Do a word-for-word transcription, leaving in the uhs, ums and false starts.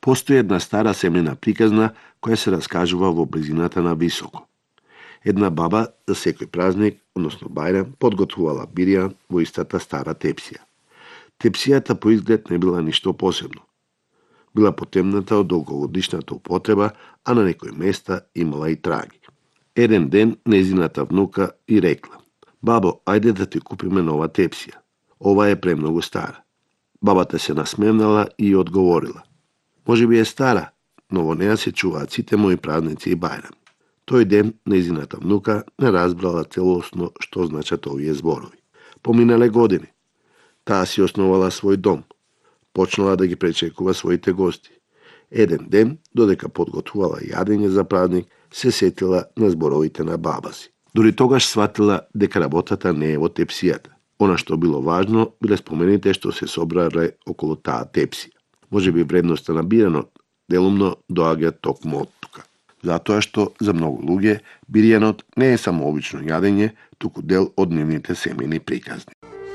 Постои една стара семена приказна која се раскажува во близината на Високо. Една баба за секој празник, односно бајрам, подготвувала бирија во истата стара тепсија. Тепсијата по изглед не била ништо посебно. Била потемната од долгогодишната употреба, а на некои места имала и траги. Еден ден незината внука и рекла: "Бабо, ајде да ти купиме нова тепсија. Ова е премногу стара." Бабата се насмевнала и одговорила: "Може би е стара, но во неа се чуваат сите мои празници и бајрами." Тој ден незината внука не разбрала целосно што значат овие зборови. Поминале години. Таа си основала свој дом. Почнала да ги пречекува своите гости. Еден ден, додека подготвувала јадење за празник, се сетила на зборовите на баба си. Дори тогаш сватила дека работата не е во тепсијата. Она што било важно, биле спомените што се собрале околу таа тепсија. Може би вредноста на биренот делумно доаѓа токму од тука. Затоа што за многу луѓе бирјанот не е само обично јадење, туку дел од нивните семејни приказни.